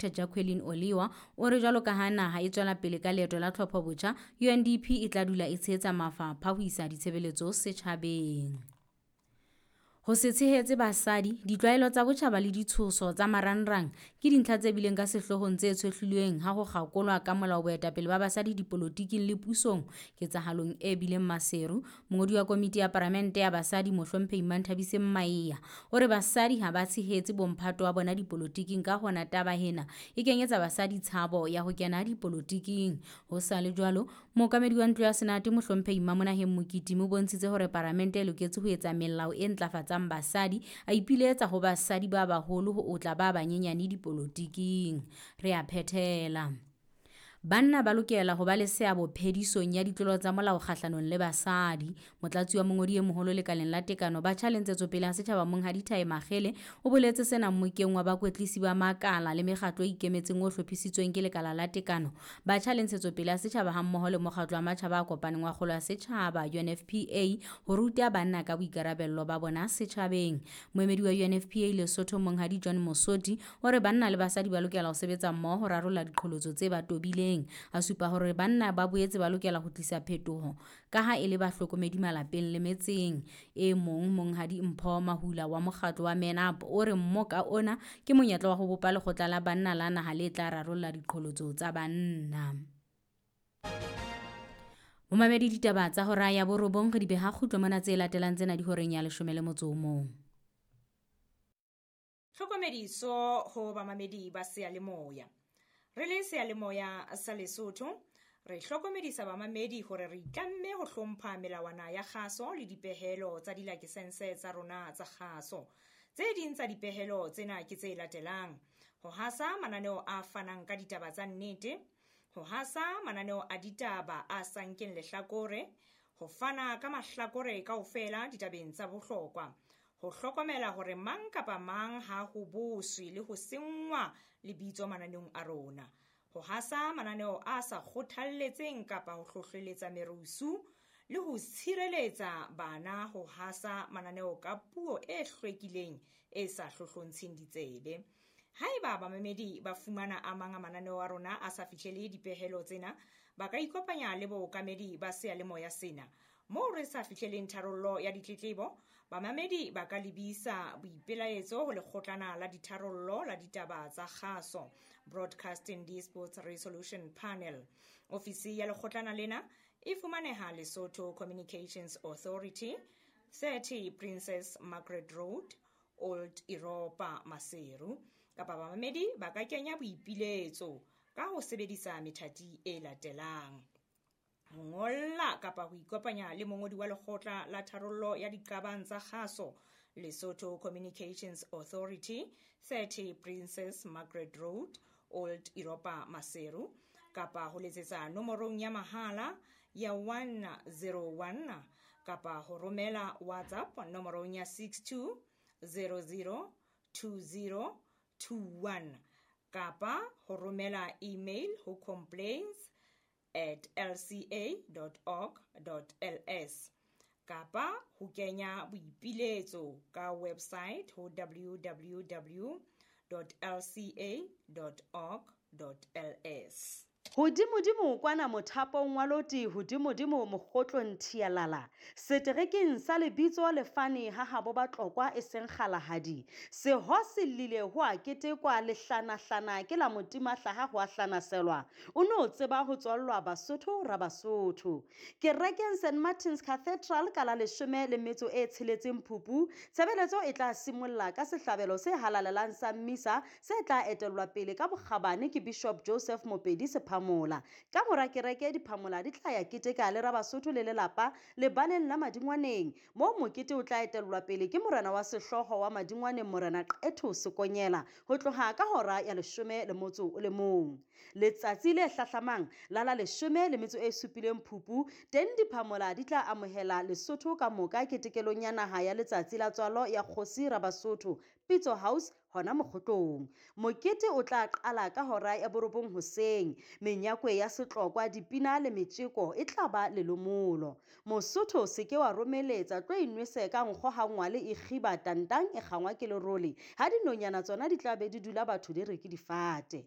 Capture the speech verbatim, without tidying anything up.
Doctor Jacqueline Oliwa o re jwalo ka ha naha e tswela pele ka leeto la tlhophobotjha, U N D P e tla dula e tshehetsa mafapha ho isa ditshebeletso setjhabeng. Ho se tshehetse basadi, ditlwaelo tsa botjhaba le ditshoso tsa marangrang ke dintlha tse bileng ka sehloohong tse tshohlilweng ha ho kgakolwa ka molao boetapele ba basadi dipolotiking le pusong ketsahalong e bileng Maseru. Mongodi wa komiti ya Palamente ya basadi Mohlomphehi Manthabiseng Maea o re basadi ha ba tshehetse bomphato wa bona dipolotiking, ka hona taba ena e kenyetsa basadi tshabo ya ho kena dipolotiking. Ho sa le jwalo, mookamedi wa ntlo ya Senate Mohlomphehi Mamonaheng Mokitimi o bontshitse hore Palamente e loketse ho etsa melao e ntlafatsang basadi, a ipiletsa ho basadi ba baholo ho otla ba banyenyane dipolotiking. Re a phethela. Banna ba lokela ho ba le seabo phedisong ya ditlolo tsa molao kgahlanong le basadi. Motlatsi wa mongodi e moholo lekaleng la tekano batjha le ntshetsopele ya setjhaba Monghadi Thae Makgele o boletse sena mmokeng wa bakwetlisi ba makala le mekgatlo e ikemetseng o hlophisitsweng ke lekala la tekano batjha le ntshetsopele ya setjhaba hammoho le mokgatlo wa matjhaba a kopaneng wa kgolo ya setjhaba U N F P A ho ruta banna ka boikarabello ba bona setjhabeng. Moemedi wa U N F P A Lesotho Monghadi John Mosoti o re banna le basadi ba lokela ho sebetsa mmoho ho rarolla diqholotso tse ba tobileng. A supa hore banna ba boetse ba lokela ho tlisa phetoho ka ha e le bahlokomedi malapeng le metseng. E mong Monghadi Mpho Mahula wa mokgatlo wa Men Up o re mmoka ona ke monyetla wa ho bopa lekgotla la banna la naha le tla rarolla diqholotso tsa banna. Momamedi ditaba tsa hora ya borobong re di beha kgutlo mona, tse latelang tsena di horeng ya leshome le motso o mong. Tlhokomediso ho bamamedi ba seyalemoya. Re le seyalemoya sa Lesotho, re hlokomedisa bamamedi hore re itlamme ho hlompha melawana ya kgaso le dipehelo tsa dilakesense tsa rona tsa kgaso. Tse ding tsa dipehelo tsena ke tse latelang: ho hasa mananeo a fanang ka ditaba tsa nnete, ho hasa mananeo a ditaba a sa nkeng lehlakore, ho fana ka mahlakore kaofela ditabeng tsa bohlokwa, ho hlokomela hore mang kapa mang ha ho boswe le ho senngwa lebitso mananeong a rona, ho hasa mananeo a sa kgothalletseng kapa ho hlohleletsa merusu le ho tshireletsa bana ho hasa mananeo ka puo e hlwekileng e sa hlohlontsheng ditsebe. Haeba bamamedi ba fumana a mang a mananeo a rona a sa fihlele dipehelo tsena, ba ka ikopanya le bookamedi ba seyalemoya sena. Moo re sa fihleleng tharollo ya ditletlebo, bamamedi ba ka lebisa boipelaetso ho lekgotlana la ditharollo la ditaba tsa kgaso, Broadcasting Disputes Resolution Panel. Ofisi ya lekgotlana lena e fumaneha Lesotho Communications Authority, thirty Princess Margaret Road, Old Europa, Maseru. Kapa bamamedi ba ka kenya boipiletso ka ho sebedisa methati e latelang: ho ngolla kapa ho ikopanya le mongodi wa lekgotla la tharollo ya diqabang tsa kgaso, Lesotho Communications Authority, thirty Princess Margaret Road, Old Europa, Maseru, kapa ho letsetsa nomorong ya mahala ya one zero one kapa ho romela WhatsApp nomorong ya six two zero zero two zero two one kapa ho romela email ho complaints at l c a dot org dot l s kapa ho kenya boipiletso ka website ho w w w dot l c a dot org dot l s. Hodimodimo kwana mothapong wa loti, hodimodimo mokgotlong thialala. Seterekeng sa lebitso lefane ha habo Batlokwa e seng kgalahadi. Seho se llile ho a ketekwa lehlanahlana ke la motima hlaha ho a hlanaselwa. O no tseba ho tswallwa Basotho ra Basotho. Kerekeng Saint Martin's Cathedral ka la leshome le metso e tsheletseng Phupu, tshebeletso e tla simolla ka sehlabelo se halalelang sa mmisa se tla etellwa pele ka bokgabane ke Bishop Joseph Mopedi Sephamola. Ka mora kereke diphamola di tla ya keteka le Rabasotho le lelapa lebaleng la Madingwaneng, moo mokete o tla etellwa pele ke morena wa sehlooho wa Madingwaneng Morena Qetho Sekonyela ho tloha ka hora ya leshome le motso o le mong. Letsatsi le hlahlamang la la leshome le metso e supileng Phupu, teng diphamola di tla amohela Lesotho ka moka ketekelong ya naha ya letsatsi la tswalo ya kgosi Rabasotho Pitso House hona mokgotlong. Mokete o tla qala ka hora ya borobong hoseng. Menyakwe ya setlokwa, dipina le metjeko e tla ba lelomolo. Mosotho se ke wa romeletsa, tlo inwese ka nkgo ha ngwale e kgiba tantang e kgangwa ke lerole. Ha dinonyana tsona di tla be di dula batho di re ke difate.